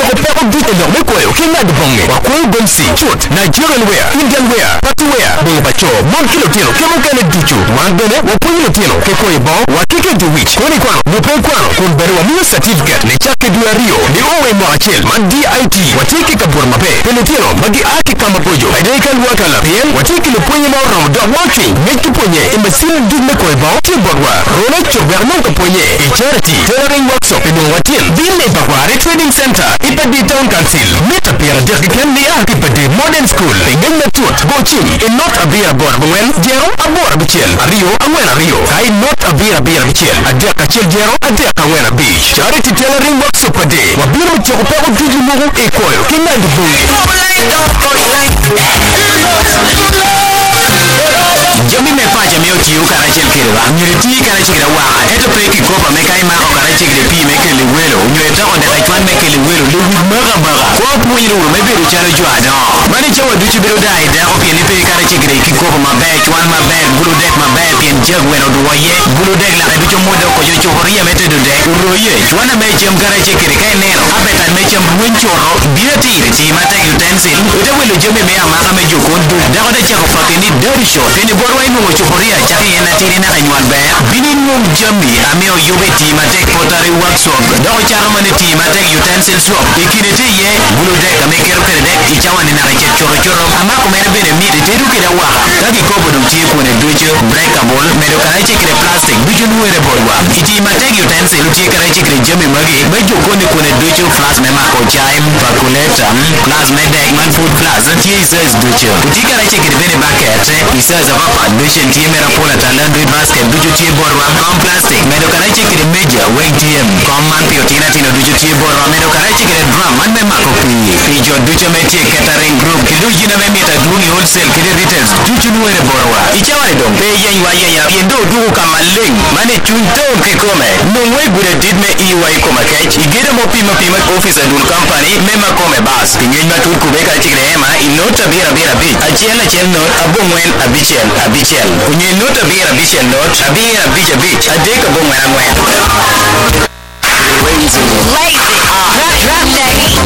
tyeko peko ducu i lok me kwoyo ki ngado bongi. Wakwoyo gomci, cut, Nigerian wear, Indian wear, party wear, bongo pa co, mon ki lutino ki mukene ducu. Wan bene wapwonyo lutino ki kwoyo bongo wa ki keto wic. Koni kwano nyo pe ikwano kun bene wamiyo catifiket nicakke dwe aryo nio wa i mwaka acel man DIT. Watye ki kabuto maber pi lutino ma gia ki ka maboco kede i kalwakala pien watye ki lupwonye ma oromo dok ma ocwiny mic ki pwonye i macin duc me kwoyo bongo tye botwa. Rona cok wek inong ka pwonye i Charity Tailoring Workshop i nongo watin. Bin i Bakware Trading Center i Padi Town Council, mita 30 keken nia ki Padi Modern School. Pi ngec matut, go cim i not abiro aboro abongwen jero aboro abicel aryo angwen aryo ka i not abiro abiro abicel adek acel jero adek angwen abic. Charity Tailoring Workshop Padi, wabino me tyeko peko ducu mogo i kwoyo ki ngado bongi. Jami me paco me otiyo karacel kwede myero iti karacel kwede awaka ento pe kikopo me ka imako karacel kwede pii me kelo welo nyo itoko dek icwan me kelo welo lewic mako amaka. Kwo pwony ruru me bedo calo jo adongo. Man i cawa ducu bedo daa i dako pien ni pe karacel kwede kikopo maber, cwan maber, gulu dek maber pien jag weno odwo iye, gulu dek lake ducu omwodo okoco cupuria me tedo dek oroye, cwana me cam karacel kwede ka ineno apetan me cam rweny curo bino atir tii matek utensil ite wilo jami me amaka me jokon duc dako te cako paki ni dirty shot pien botwa inwongo cupuria cako i en atidi naka inywal ber bino inwong jami ame oyubo i tii matek pottery workshop dok ocato mana i tii matek utensil shop i kine tye iye gulu dek ame iketo kwede dek i cawa ni naka icit cuto cuto amako mere bene mit itedo kwede awaka ka kikopo dong tye kwone ducu breakable medo karace kwede plastic ducu nwere botwa i tii matek utensil tye karace kwede jami magi me jokoni kwone ducu flask me mako cai percolator flask me dek man food flask tye i size ducu tye karace kwede bene baket i size apapat beshen tye mere apol ata laundry basket ducu tye botwa kom plastic medo karace kwede meja weng tye kom man pi otino atino ducu tye botwa medo karace kwede drum man me mako pii pi jo ducu me tye catering group ki lujina me mito adwong i wholesale kede retails ducu nwere botwa i cawa ni dong pe iyeny wa ayenya pien dong odwogo ka maleng man i cwiny town kikome nongwa i gudo adit me EY koma kec i gedo ma opim apima office adul company me makome bus pi ngec matut kube kacel ki ema i not abiro abiro abic acel acel not abongwen abicel abicel onyo i not abiro abicel not abiro abic abic adek abongwen angwen. Lazy. Drop, drop that.